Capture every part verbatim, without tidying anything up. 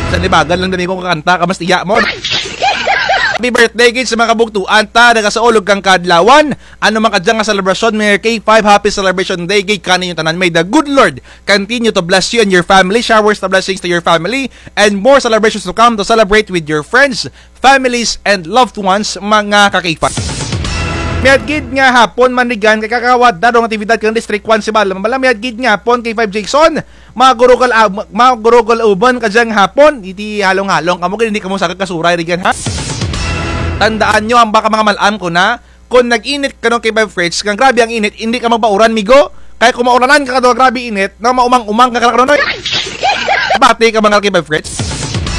Sa nibagan lang dani ko kakanta ka mas tiya mo. Happy birthday gid sa mga kabugtuan ta, nagasaulog kang kadlawan. Ano man kadya nga selebrasyon, Mayor K five, happy celebration day gid kaninyo tanan. May the good Lord continue to bless you and your family. Showers of blessings to your family and more celebrations to come to celebrate with your friends, families, and loved ones, mga ka-K five. Mayad gid nga hapon man rigan kay kakawad darong aktibidad kang District one si Balam. Bala, mayad gid nga hapon K five Jason. Magurugol, ah, magurugol uban kadyang hapon. Iti halong-halong kamo, kay hindi kamo sagad kasuray rigan, ha? Tandaan nyo, ang baka mga malam ko na, kung nag-init kano K five Fritz, kang grabe ang init, hindi ka magbauran, migo. Kay kung mauranan ka kadto, grabe init, na maumang-umang ka kano, noy. Pati ka mga K five Fritz.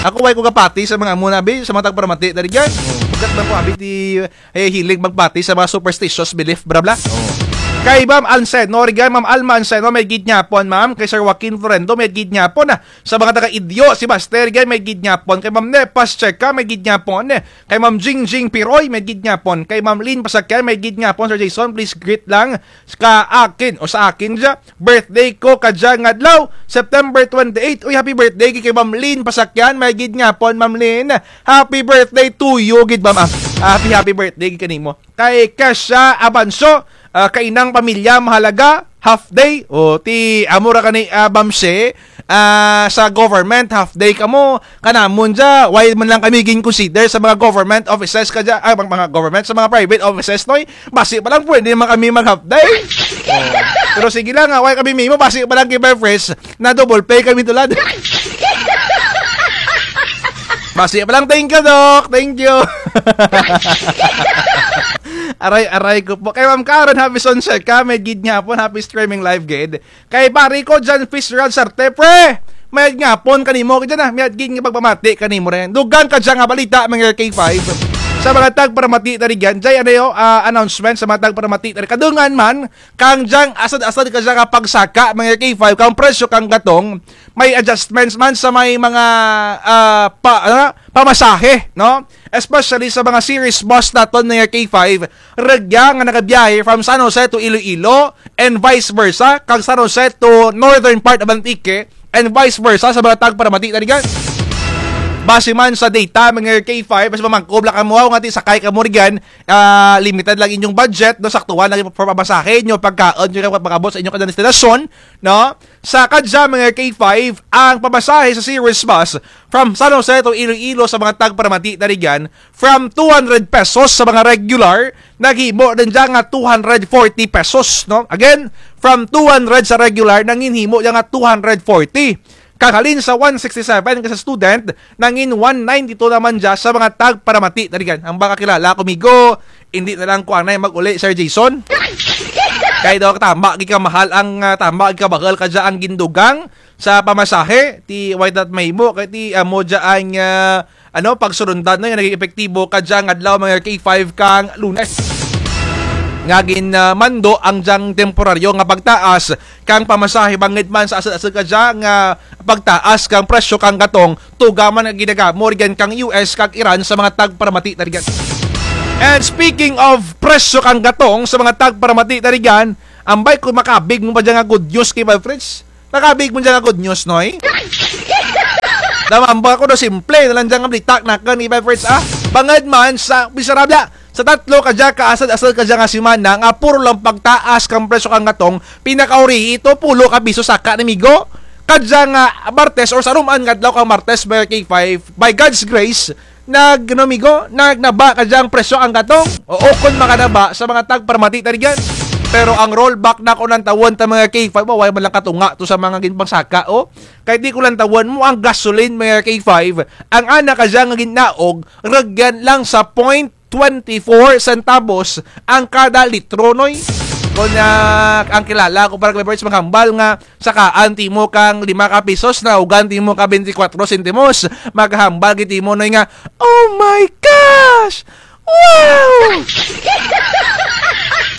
Ako, way ko kapati sa mga muna, abi, sa mga tagparamati, dari dyan. Bagat man ko, abi, ti, eh, hilig magpati sa mga superstitious belief, bla, bla. Kay Ma'am Anseno, rigan, Ma'am Alma Anseno, mayad gid nga hapon, ma'am. Kay Sir Joaquin Florendo, mayad gid nga hapon, ah. Sa mga taga-Idyo, si Master, rigan, mayad gid nga hapon. Kay Ma'am Nepas Checa, mayad gid nga hapon, eh. Kay Ma'am Jingjing Piroy, mayad gid nga hapon. Kay Ma'am Lynn Pasakyan, mayad gid nga hapon, Sir Jason, please greet lang ka akin o sa akin dya. Birthday ko kadya nga adlaw, September twenty-eight. Uy, happy birthday gid kay Ma'am Lynn Pasakyan, mayad gid nga hapon, Ma'am Lynn. Happy birthday to you gid, ma'am. Ah, happy, happy birthday gid kanimo. Kay Kesha Abanso, ah, kainang pamilya mahalaga, half day. O, ti, amo ra kani, ah, Bamse, ah, sa government, half day kamo. Kanamon dya, why man lang kami gin-consider sa mga government offices kadya, ah, mga, mga government, sa mga private offices, noy? Basi pa lang, pwede man kami mag-half day. O. Pero sige lang, ah, why kami mimo, basi pa lang kay Befres, na double pay kami tulad. Basi pa lang, thank you, Doc. Thank you. Aray, aray ko po. Kay Ma'am Karen, happy sunset ka. Mayad gid nga hapon, happy streaming live gid. Kay pare ko dyan, Fitzgerald Sarte, pre. Mayad nga hapon kanimo, kadyan, ah. Mayad gid nga pagpamati kanimo rin. Dugang kadya nga balita, mga K five. Sa mga tagparamati tari dyan, dyan, ano yo, ah, announcement sa mga tagparamati tari. Kadungan man, kang dyang asad-asad kadya nga pagsaka, mga K five, kang presyo kang gatong, may adjustments man sa may mga, ah, pa, ano, pamasahe, no? Especially sa mga series bus naton, mga K five, rugya nga nagabiyahe from San Jose to Iloilo and vice versa, kang San Jose to northern part of Antique and vice versa, sa mga tagparamati tari dyan. Base man sa data, mga K five, mas mamangkob lang kamo, nga ti sakay kamo rigan, ah, limited lang inyong budget, no, saktuhan lang yung pamasahe nyo, pagkaon nyo, pag-abot sa inyong kada destinasyon, no? Sa kadya, mga K five, ang pamasahe sa series bus from San Jose to Iloilo sa mga tagparamati tari dyan, from two hundred pesos sa mga regular, naghimo din dyan nga two hundred forty pesos, no? Again, from two hundred sa regular, nanginhimo dyan nga two hundred forty. Kang halin sa one sixty-seven ka sa student, nangin one ninety-two naman dya sa mga tagparamati tari dyan. Ang baka kilala ko, migo, hindi na lang ko anay mag-uli, Sir Jason. Kay daw tama gid ka mahal ang, ah, tama gid ka bahal kadya ang gindugang sa pamasahe, ti way dat mahimo, kay ti amo dya ang, ah, ano, pagsurundan na nga naging epektibo kadya nga adlaw, mga K five, kang Lunes. Nga gin, ah, mando ang dyang temporaryo nga pagtaas kang pamasahe bangud man sa asud-asud kadya nga pagtaas kang presyo kang gatong, tuga man nga ginagamo rigan kang U S kag Iran sa mga tagparamati tari dyan. And speaking of presyo kang gatong sa mga tagparamati tari dyan, ambay ko makabig mo pa dyan nga good news kay Bal Fritz. Nakabig mo dyan nga good news, noy? Damambal ko daw simple na lang dyan nga balita nakun ni Bal Fritz, ah. Bangud man sa, bisarabla, sa tatlo kadya ka asud-asud kadya nga semana nga puro lang pagtaas kang presyo kang gatong, pinakauri ito, pulo ka piso saka, namigo. Kadya nga Martes or sa ruman nga adlaw kang Martes, mga K five, by God's grace, nag, ano, migo, nag, naba kadya ang presyo kang gatong. Oo, kun makanaba sa mga tagparamati tari dyan. Pero ang rollback na ko lantawun ta, mga K five, o, way man lang katunga to sa mga ginpangsaka, o. Kay ti ko lantawun mo ang gasoline, mga K five, ang ana kadya nga ginaog, rugyan lang sa point twenty-four centavos ang kada litro, noy. Kun, ah, ang kilala ko para kay Bal Fritz maghambal nga sakaan timo kang lima ka pisos, naugan timo ka bente kwatro sentimos. Maghambal gid timo, noy, nga, "Oh my gosh! Wow!"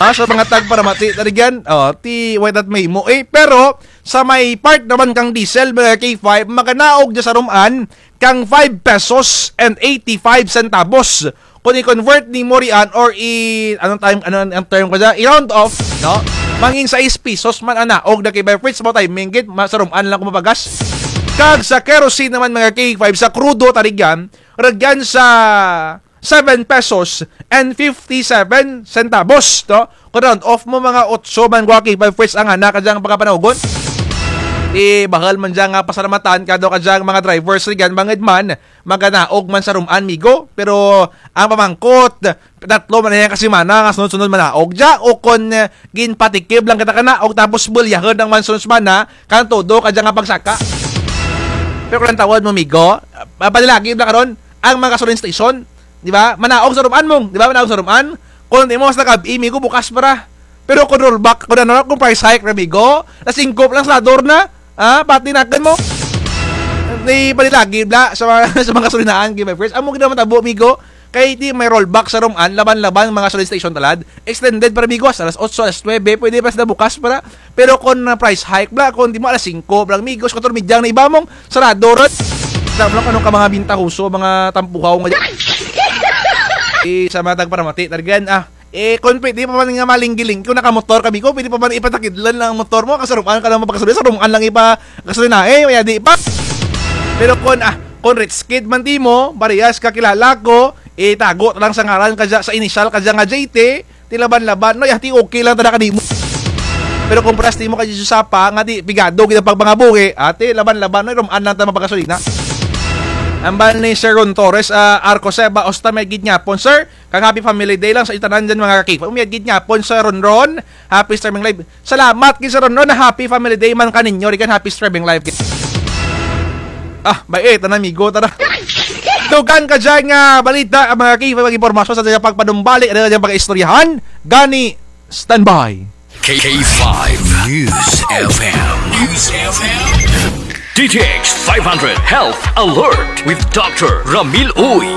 Ah, sa mga tagparamati tari dyan, o, ti, way dat mahimo, eh. Pero, sa may part naman kang diesel, mga K five, maganaog dya sa ruman, kang five pesos and eighty-five centavos. Kun i-convert nimo riyan or i-, anong time, ano ang term ko dyan? I-round off, no? Mangin sais pisos man ang naog na kay Bal Fritz, mo timing gid, ma-, sa ruman lang ko mapagas. Kag sa kerosene naman, mga K five, sa krudo, tari dyan, rugyan sa seven pesos and fifty-seven centavos, no? Kon round off mo, mga otso man gwa, K five, fresh ang ana ka dyang pagkapanaugon. Ti bahul man dyan nga pasalamatan kadaw ka dyang mga drivers rugyan, bangud man maganaog man sa rum-an, migo. Pero ang pamangkot, tatlo man dyan ka semana nga sunod-sunod manaog dya, o kon, eh, ginpatikib lang kita kanaog tapos bulyahun ang mga sunod semana kang todo ka dya nga pagsaka. Pero kon lantawun mo, migo, ah, panalagi bala karon ang mga gasoline station, di ba? Manaog sa rum-an mo, di ba? Manaog sa rum-an. Kon imo sa gab-i, migo, bukas pa ra. Pero kon rollback, kon ano, kon price hike ra, migo, alas singko pa lang sarador na. Ah, pati nakun mo. Ti panalagi bala sa mga, sa mga gasolinahan, K five, fresh. Amo gid ang matabo, migo. Kay ti may rollback sa rum-an, laban-laban mga gasoline station talad. Extended pa ra, migo, hasta alas otso, alas nuebe, pwede pa sila bukas pa ra. Pero kon, ah, price hike bala, kon ti mo alas singko pa lang, migo, kuwatro medya na iba mong sarado run. Kita mo lang kon ano ka mga bintahoso, mga tampuhaw nga dyan. Eh, sa mga tagparamati, talagan, ah, eh, kon pwede pa man nga malinggi-linggi, kon nakamotor ka, migo, pwede pa man ipatakidlan lang ang motor mo, kay sa rum-an ka lang mapagasolina, sa rum-an lang ipagasolina, eh, mayadi pa. Pero kon, ah, kon rich kid man ti mo, parehas kakilala ko, itago ta lang sa ngaran ka dya, sa inisyal ka dya nga J T, ti laban-laban, no, ya, ti okay lang tana kadi mo. Pero kon parehas ti mo ka Josapa, nga ti pigado gid ang pagpangabuhi, ah, ti laban-laban, no, rum-an lang ta mapagasolina. Hambal ni Sir Ron Torres, ah, Arco Seba, usta may gid nga hapon, sir. Kag happy Family Day lang sa inyo tanan dyan, mga ka-K five. Umayad gid nga hapon sa Ronron. Happy streaming live. Salamat gid sa Ronron. Happy Family Day man kaninyo. Rugyan, happy streaming live. Ah, bay, eh, tana, migo, tana. Dugang ka dyan nga balita, ang mga K five, mga impormasyon sa atyang pagpanumbalik, ano atyang pag-istoryahan. Gani, standby. K five News F M. News F M. D T X five hundred Health Alert with Doctor Ramil Uy.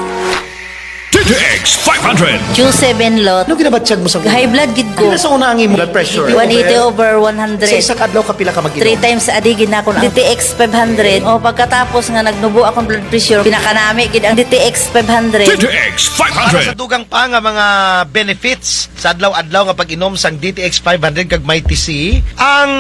D T X five hundred. Q seven lot. Ano ginabatyag mo sa High blood gid ko. Ano sa una ang imong blood pressure? One eighty over one hundred. Sa isa ka adlaw, kapila ka mag-inom? Three times a day gid na akong D T X five hundred. O, pagkatapos nga nagnubo akong blood pressure, pinakanami gid ang D T X five hundred. D T X five hundred. Para sa dugang pa nga mga benefits sa adlaw-adlaw nga pag-inom sang D T X five hundred kag Mighty C, ang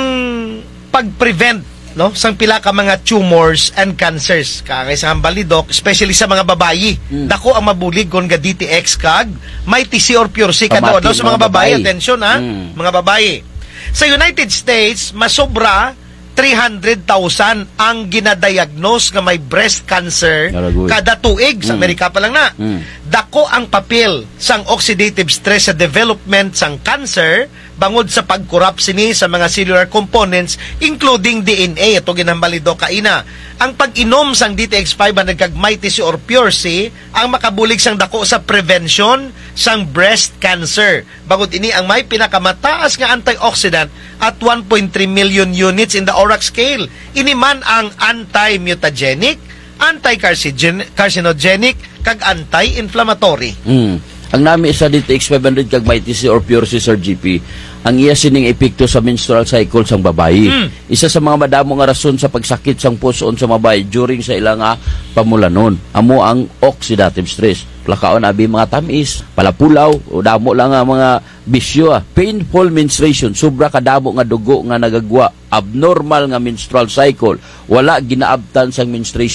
pag-prevent, no, sang pila ka mga tumors and cancers. Kaangay sa hambal ni Doc, especially sa mga babayi. Mm. Dako ang mabulig kon ga D T X kag Mighty C or Pure C. Kadaw-daw sa mga babayi, atensyon, ha? Mm. Mga babayi. Sa United States, masobra three hundred thousand ang ginadiagnose nga may breast cancer kada tuig. Sa Amerika pa lang na. Mm. Dako ang papel sang oxidative stress sa development sang cancer, bangod sa pag-corrupt sini sa mga cellular components, including D N A, ato ginhambal ni Doc kaina. Ang pag-inom sang D T X five hundred kag Mighty C or Pure C ang makabulig sang dako sa prevention sang breast cancer. Bangod ini ang may pinakamataas nga antioxidant at one point three million units in the ORAC scale. Ini man ang anti-mutagenic, anti-carcinogen-, carcinogenic, kag anti-inflammatory. Mm. Ang nami sa D T X five hundred kag Mighty C or Pure C, Sir G P, ang iya sining epekto sa menstrual cycle sang babayi. Mm. Isa sa mga madamo nga rason sa pagsakit sang pus-on sa babayi during sa ila nga pamulanon, amo ang oxidative stress. Palakaon abi mga tam-is, palapulaw, o damo lang nga mga bisyo, ah. Painful menstruation, sobra kadamo nga dugo nga nagagwa, abnormal nga menstrual cycle, wala ginaabtan sang menstruation.